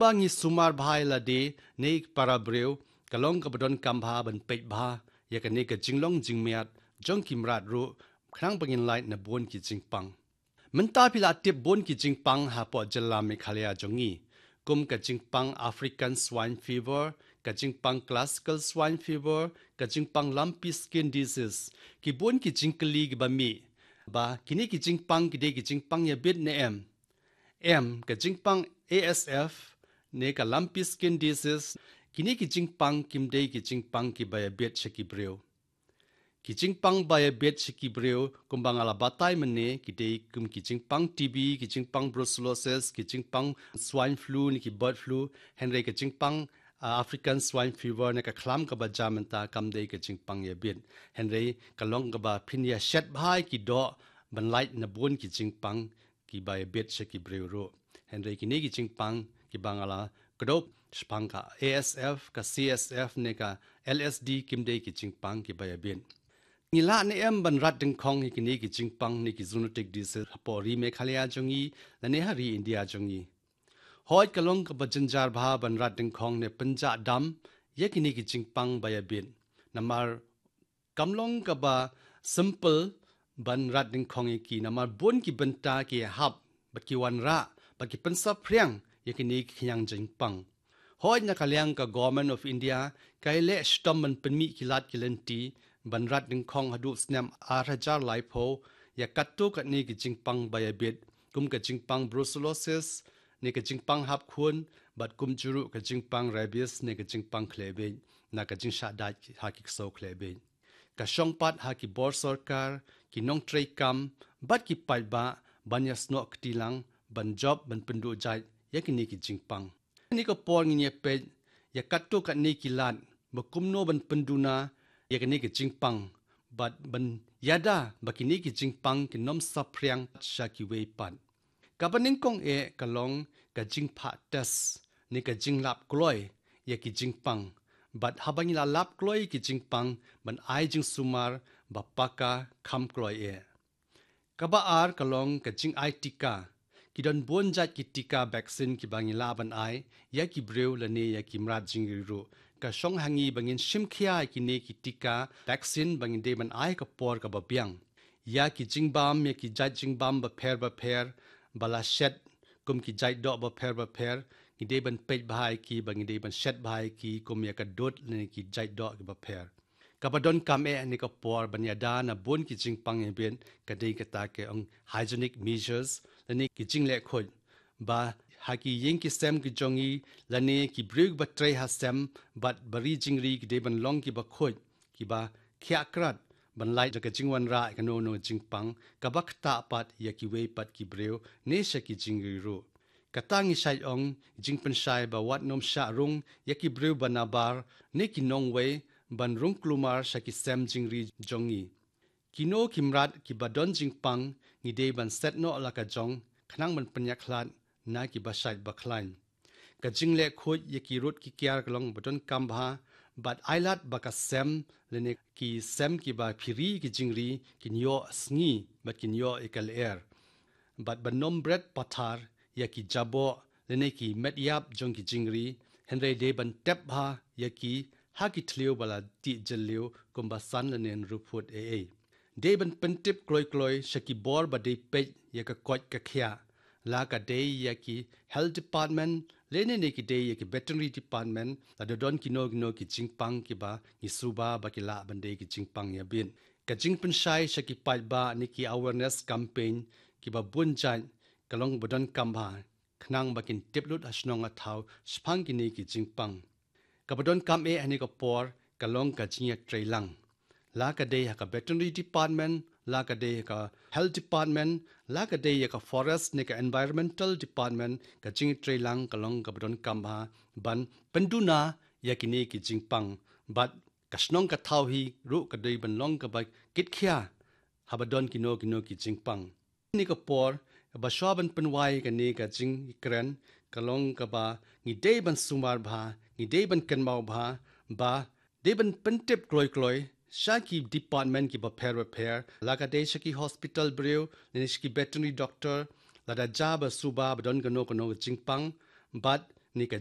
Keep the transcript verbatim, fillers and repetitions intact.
Ba ngi sumar bha ïa lade ne para briew, ka long kaba donkam bha ban peit bha ïa kane ka jinglong jingmiat jong ki mrad ruh, khnang ba ngin lait na bun ki jingpang. Mynta phi la tip bun ki jingpang hapoh jylla Meghalaya jong ngi, kum ka jingpang African Swine Fever, ka jingpang Classical Swine Fever, ka jingpang Lumpy Skin Disease. Ki bun ki jingkylli kiba mih ba kine ki jingpang ki dei ki jingpang ïabit ne em. Em, ka jingpang A S F ne ka Lumpy Skin Disease, kine ki jingpang kim dei ki jingpang kiba ïabit sha ki briew. Ki jingpang ba ïabit sha ki briew, kumba nga la batai mynne, ki dei kum ki jingpang T B, ki jingpang brucellosis, ki jingpang swine flu ne ki bird flu, hynrei ka jingpang, ah, African Swine Fever ne ka khlam kaba jia mynta kam dei ka jingpang ïabit. Hynrei ka long kaba phin ïa shet bha ïa ki doh ban lait na bun ki jingpang kiba ïabit sha ki briew ruh. Hynrei kine ki jingpang kiba nga la kdew shaphang ka A S F, ka C S F ne ka L S D kim dei ki jingpang kiba ïabit. Ngi lah ne em ban rat dyngkhong ïa kine ki jingpang ne ki zoonotic disease hapoh ri Meghalaya jong ngi lane ha ri India jong ngi? Hooid, ka long kaba jynjar bha ban rat dyngkhong ne pynjah dam ïa kine ki jingpang ba ïabit. Namar kam long kaba simple ban rat dyngkhong ïa ki, namar bun ki bynta ki hap bad ki wanrah bad ki pynsaphriang ïa kine ki khñiang jingpang. Hooid, na ka liang ka Government of India ka ïaleh shitom ban pynmih ki lad ki lynti ban rat dyngkhong haduh snem ar hajar laiphew ïa katto katne ki jingpang ba ïabit, kum ka jingpang brucellosis ne ka jingpang hap khun, bad kumjuh ruh ka jingpang rabies ne ka jingpang khlebit na ka jingshah dait ha ki ksew khlebit. Ka shong pat ha ki bor sorkar, ki nongtrei kam bad ki paidbah ban ïasnoh kti lang ban jop ban pynduh jait ïa kine ki jingpang. Kane ka por ngin ïa peit ïa katto katne ki lad ba kumno ban pynduna ïa kine ki jingpang bad ban ïada ba kine ki jingpang kin ym saphriang sha kiwei pat. Kaba nyngkong eh ka long ka jingphah test ne ka jinglap kloi ïa ki jingpang. Bad haba ngi la lap kloi ïa ki jingpang ban ai jingsumar ba paka kham kloi eh. Kaba ar ka long ka jingai tika. Ki don bun jait ki tika vaccine kiba ngi lah ban ai ïa ki briew lane ïa ki mrad jingri ruh. Ka shong ha ngi ba ngin shim khia ïa kine ki tika vaccine ba ngin dei ban ai ha ka por kaba biang. Ïa ki jingbam, ïa ki jait jingbam bapher bapher ba la shet kum ki jait doh bapher bapher, ngi dei ban peit bha ïa ki bad ngi dei ban shet bha ïa ki kum ïa ka dud lane ki jait doh kiba pher. Kaba donkam eh ha kane ka por ban ïada na bun ki jingpang ïabit ka dei kata ka ong hygienic measures lane ki jingleh khuid. Ba ha ki ïing ki sem ki jong ngi lane ki briew ba trei ha sem bad ba ri jingri ki dei ban long kiba khuid, kiba khiah krat ban lait da ka jingwanrah ïa kano kano jingpang kaba ktah pat ïa kiwei pat ki briew ne sha ki jingri ruh. Kata ngi shait ong jingpynshai ba wat nym shah rung ïa ki briew ba nabar ne ki nongwei ban rung kulmar sha ki sem jingri jong ngi. Kino ki mrad kiba don jingpang ngi dei ban set noh la ka jong khnang ban pynïakhlad na kiba shait ba khlaiñ. Ka jingleh khuid ïa ki rud ki kiar ka long ba donkam bha bad ai lad ba ka sem lane ki sem kiba phi ri ki jingri kin ïoh sngi bad kin ïoh ïa ka lyer. Bad ban nym bret pathar ïa ki jaboh lane ki met ïap jong ki jingri, hynrei dei ban tep bha ïa ki ha ki thliew ba la tih jylliew kumba san lane hynriew phut ei ei. Dei ban pyntip kloi kloi sha ki bor ba dei peit ïa ka koit ka khiah, la ka dei ïa ki health department lane ne ki dei ïa ki veterinary department lada don kino kino ki jingpang kiba ngi suba ba ki lah ban dei ki jingpang ïabit. Ka jingpynshai sha ki paidbah ne ki awareness campaign kiba bun jait ka long ba donkam bha khnang ba kin tip lut ha shnong ha thaw shaphang kine ki jingpang. Kaba donkam eh ha kane ka por ka long ka jingïatreilang. La ka dei ha ka veterinary department, la ka dei ha ka health department, la ka dei ha ka forest ne ka environmental department, ka jingïatreilang ka long kaba donkam bha ban pynduna ïa kine ki jingpang. Bad ka shnong ka thaw hi ruh ka dei ban long kaba kitkhia haba don kino kino ki jingpang. Ha kane ka por, kaba shwa ban pynwai kane ka jingkren ka long kaba ngi dei ban sumar bha, ngi dei ban kynmaw bha, ba dei ban pyntip kloi kloi sha ki department kiba pher ba pher, la ka dei sha ki hospital briew ne sha ki veterinary doctor lada jia ba suba ba don kano kano ka jingpang, bad ne ka